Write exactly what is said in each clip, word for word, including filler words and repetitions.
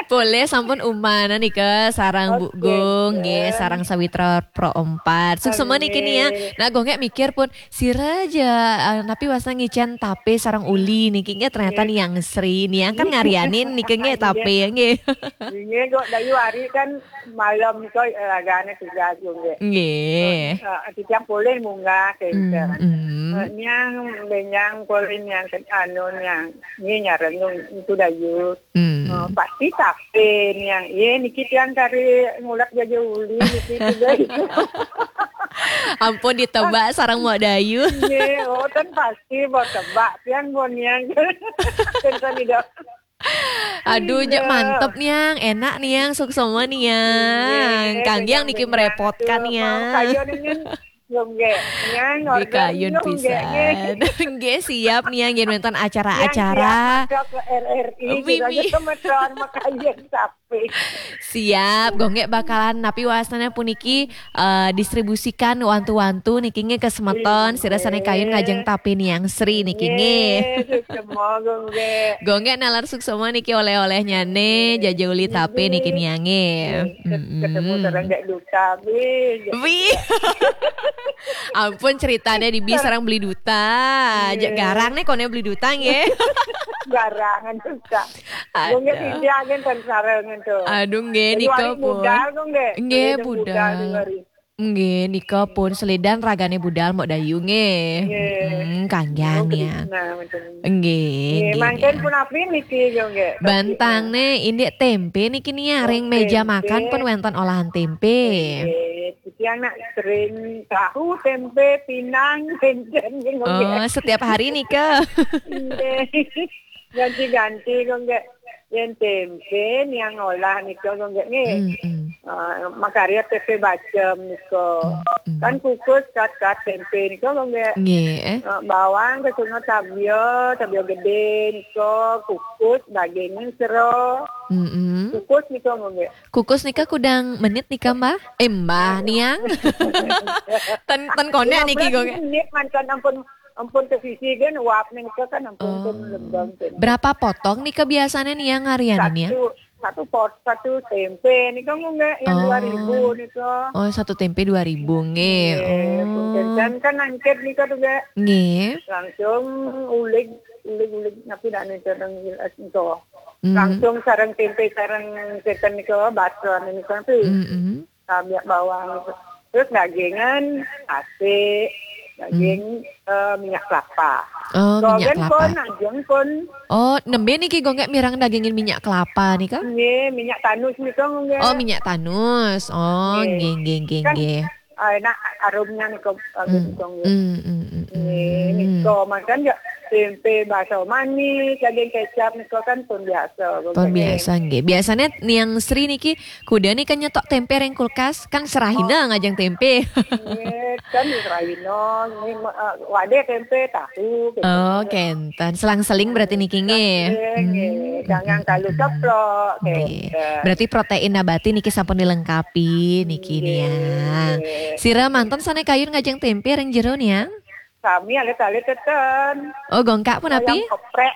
Polih sampun umana nika sareng Bu Gung nggih, sareng sawitra Pro empat. Suksma niki nia. Nah, Gung nggih mikir pun sira ja, eh, napi wasna ngicen tape sareng uli niki nggih, ternyata Niang Sri. Niang kan ngarianin niki nggih tape nggih. Nggih, kok Dayu hari kan malam kok, eh, ragane tugas Gung nggih. Nggih. Eh, titiang polih munggah kenten. Hmm, hmm. Eh, Niang benyang polih Niang ke-, anu Niang. Nggih, nyareng Gung, itu Dayu. Hmm. Oh, pasti tape Niang. Ye, niki tiang kari ngulek jaja uli niki juga. Ampun ditebak sareng Mak Dayu. Nggih, oh, ten pasti mau tebak tiang mau Niang. Ten sami dah. Aduh, jek mantep Niang, enak Niang, suksma Niang. Nggih, Kanggiang niki merepotkan Niang. Kayu ningen Nggih, Niang, nggih, order kayun nggih, pisan. Nggih, siap Niang, yen wenten acara-acara. Niang siap masuk ke R R I, Wih, kita wih. Aja kemeton makayun sapi. Siap, Gung nggih bakalan napi wasnane puniki, eh, distribusikan wantu-wantu niki nggih ke semeton, sira sane kayun ngajeng tape Niang Sri niki nggih. Nggih, suksma, Gung nggih. Gung nggih nalar suksma niki oleh-olehnyane, jaja uli tape niki Niang nggih. Nggih. Ket-, ketemu sareng Dek Duta, wih. Wih. Ampun, ceritane dibi sareng Beli Duta. Nggih. Jek garang nih kone Beli Duta nggih. Garangan Duta. Aduh. Gung nggih siji agen ten sarengan tuh. Aduh, nggih, nika pun. Budal, Gung nggih. Nggih, budal. Nggih, nika pun selidan ragane budal Mak Dayu nggih. Nggih. Hmm, Kanggiang Gung ya. Nggih, nggih, mangken nggih. Pun api niki, Gung nggih. Bantangne indik tempe niki nih, ring meja makan pun wenten olahan tempe. Nggih, tiang nak sering tahu, tempe, pinang, enten, Gung nggih. Oh, setiap hari nika. Nggih. Ganti-ganti, Gung nggih. Yen tempe Niang olah nika, Gung nggih, nggih. Hmm, hmm. Eh, makarya tempe bacem nika. Hmm, hmm. Kan kukus kat-kat tempe nika, Gung nggih. Nggih, eh. Eh, bawang kesungut tabia, tabia gede nika, kukus dagingnya sero. Hmm, hmm. Kukus nika, Gung nggih. Kukus nika kudang menit nika, Mbah? Eh, Mbah, Niang. Ten, ten konek niki, Gung nggih. Menit mantan ampun, ampun ke sisi kan, uap nika kan ampun, oh, pun lembang kan. Berapa potong nika biasanya Niang ngarian ini ya? Satu, satu pot, satu tempe nika, Gung nggih, yang dua ribu nika. Oh, satu tempe dua ribu nggih. Nggih, oh. Punten kan angkit nika juga. Nggih. Langsung ulig, ulig-ulig napi dak nika nang jelas nika. Hmm. Langsung sareng tempe, sareng seten nika, bakso nika tu. Hmm, hmm. Tabiak bawang. Terus dagingan, asik, daging, eh, minyak kelapa. Oh, minyak kelapa. Ajeng pun. Oh, nembe niki Gung nggih mireng dagingin minyak kelapa nika? Nggih, minyak tanus nika, Gung nggih. Oh, minyak tanus. Oh, nggih, nggih, nggih, nggih. Kan, ah, enak aromnya nika, Gung nggih. Hmm, hmm, hmm, hmm. Nggih, nika makan ya tempe bakso manis, daging kecap nika kan pun biasa, Gung nggih. Pun biasa nggih. Biasanya Niang Sri niki kuda nika nyetok tempe ring kulkas, kan serahina ngajeng tempe. Nggih, kan serahina, nggih, eh, wadah tempe, tahu, gitu. Oh, kenten. Selang-seling berarti niki nggih. Nggih, nggih. Hmm, jangan hmm, kalu hmm, ceplok, nggih. Kenten. Berarti protein nabati niki sampun dilengkapi niki, nggih, Niang. Sira manten sane kayun ngajeng tempe ring jero, Niang? Sami alit-alit teten. Oh, Gung nggih pun api? Ayam geprek.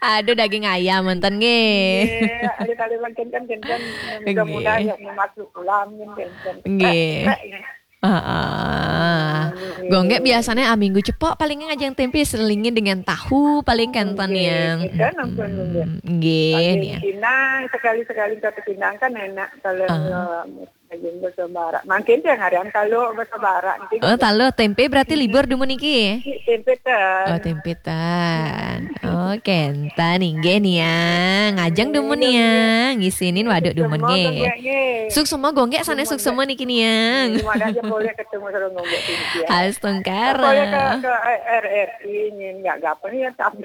Aduh, daging ayam manten nggih. Nggih, alit-alit mangkin kan kenten. Nggih. Mudah-mudahan ya masuk ulam kan kenten. Nggih. Geprek, geprek. Heeh. Nggih. Gung nggih biasanya, ah, minggu cepok paling ngajeng tempe selingin dengan tahu paling kenten. Nggih, ya. Kenten ampun, nggih. Hmm, nggih, paling ya. Pinang, sekali-sekali satu pinang kan enak kalau, ah, eh, Daging basa Barat. Mangkin tiang harian talu basa Barat niki. Oh, talu tempe berarti libur dumun niki? Tempe ten. Oh, tempe ten. Oh, kenten inggih Niang. Ngajeng dumun Niang. Ngisinin waduk dumun nggih. Suksma Gung nggih sane suksma niki Niang. Mana aja boleh ketemu sareng Gung nggih. Astungkara. Boleh ke, ke R R I nyen nggak gapen ya tapi.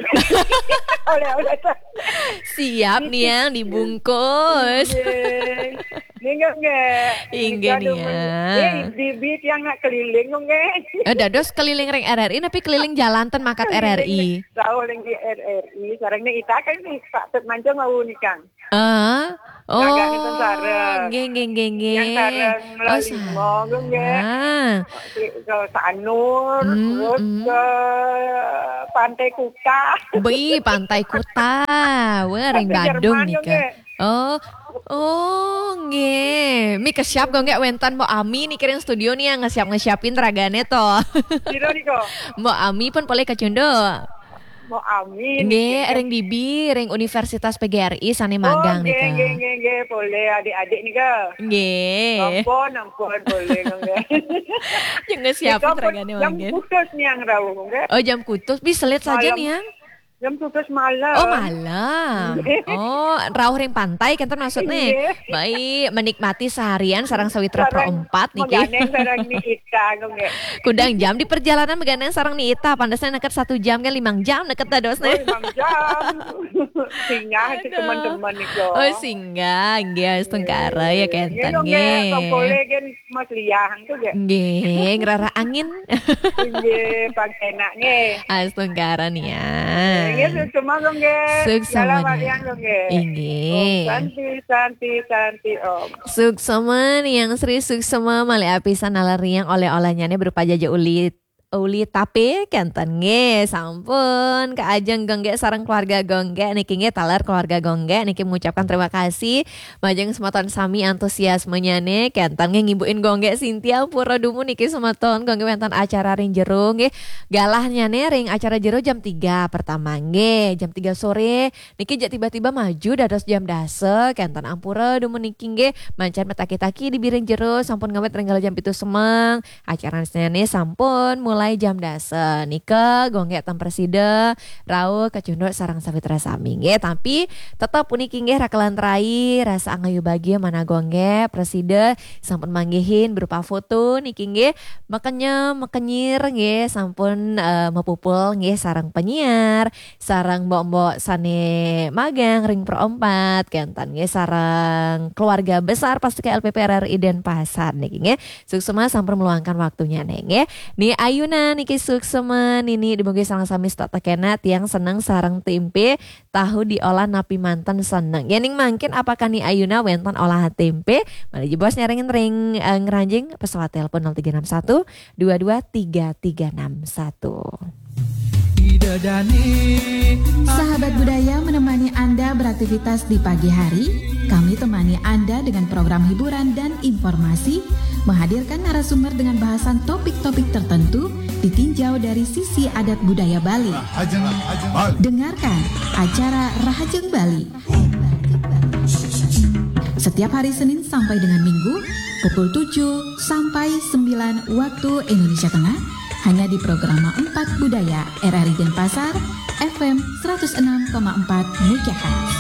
Oleh-oleh. Siap Niang dibungkus. Nggih. Inggih, nggih. Inggih, Nika nih, dumun. ya. Eh, di-, di tiang nak keliling, nggih. Eh, dados keliling ring R R I, tapi keliling jalan ten mangkat R R I. Rauh ring R R I, sareng nih ita kan nih, Pak Tut Mancung mau nikang. Ah, oh, Ragane ten sareng. Nggih, nggih, nggih, nggih. Yang sareng Oh, Lalimo, nggih. sareng. Ke Sanur, Hmm, terus hmm. ke Pantai Kuta. Bih, Pantai Kuta. Wah, ring Tapi Badung Jerman, nika. nggih. Oh, oh, nggih. Mi kesiap kok nggih wenten Mbok Ami niki ring studio nih yang ngesiap-ngesiapin ragane to. Sira nika? Mbok Ami pun boleh kacunduk. Mau amin. Nggih, ring dibi, ring Universitas P G R I sane Oh, magang nggih, nika. Nggih, nggih, nggih, boleh adik-adik nika. Nggih. Ampun, ampun, boleh, nggih. Yang ngesiapin Nika pun ragane jam mangkin. Putus nih yang rauh, nggih. Oh, jam kutus bis selit saja Malam. nih, yang. Jam putus malam. Oh, malam. Oh, rauh ring pantai kenten maksudnya. Nggih. Baik, menikmati seharian sareng sawitra pro Sareng empat niki. Maganeng sareng ni ita, nggih. Kudang jam di perjalanan maganeng sareng ni ita, pandesnya neket satu jam kan limang jam neket dadosnya. Oh, limang jam. Singgah si Aduh. Teman-teman nika. Oh, singgah, nggih, astungkara ya kenten Nggih, nggih, nggih. Kok boleh kan Mas Liah, nggih. Nggih, ngerara angin. Nggih, pang enak nggih. Astungkara nih ya. Nggih, suksma, nggih. Suksma, Dalam nggih. Wayang, nggih. Inggih. Om Santi, Santi, Santi, Om. Suksma nih yang Sri Suksma malih apisan naler riang oleh-olehnya nih berupa jaja uli uli tape kenten nggih sampun Kak Ajeng Gongge sareng keluarga Gongge niki nggih taler keluarga Gongge niki mengucapkan terima kasih majeng semeton sami antusiasmenya nih kenten nggih ngimbukin Gongge Sintia pura dumun niki semeton Gongge wenten acara ring jero nggih galahnya nih ring acara jero jam tiga pertama nggih jam tiga sore niki jak tiba-tiba maju dados jam dasa kenten ampura dumun niki nggih mancan metaki-taki di biring jero sampun ngawit ring jam pitu semeng Acara sene sampun mulai jam dasa. Nika Gongge ten prasida rauh kacunduk sareng sawitra sami nggih. Tapi tetep puniki nggih rakelan rai rasa angayu bagia manah Gongge prasida sampun manggihin berupa foto niki nggih. Mekenyem mekenyir nggih sampun eh, mapupul nggih sareng penyiar, sareng mbok-mbok sane magang ring Pro empat kenten nggih sareng keluarga besar Pastika L P P R R I Denpasar niki nggih. Suksma sampun meluangkan waktunya nih nggih. Ni ayunan niki suksma nini dumugi sareng sami stok tekena tiang seneng sareng tempe tahu diolah napi manten seneng. Yening mangkin apakah ni ayuna wenten olahan tempe? Malih jebos nyarengin ring eh, ngranjing pesawat telepon nol tiga enam satu dua dua tiga tiga enam satu. Sahabat budaya menemani Anda beraktivitas di pagi hari. Kami temani Anda dengan program hiburan dan informasi, menghadirkan narasumber dengan bahasan topik-topik tertentu, ditinjau dari sisi adat budaya Bali. Dengarkan acara Rahajeng Bali. Setiap hari Senin sampai dengan Minggu, pukul tujuh sampai sembilan waktu Indonesia Tengah, hanya di Programa empat Budaya R R I Denpasar, F M seratus enam koma empat megahertz.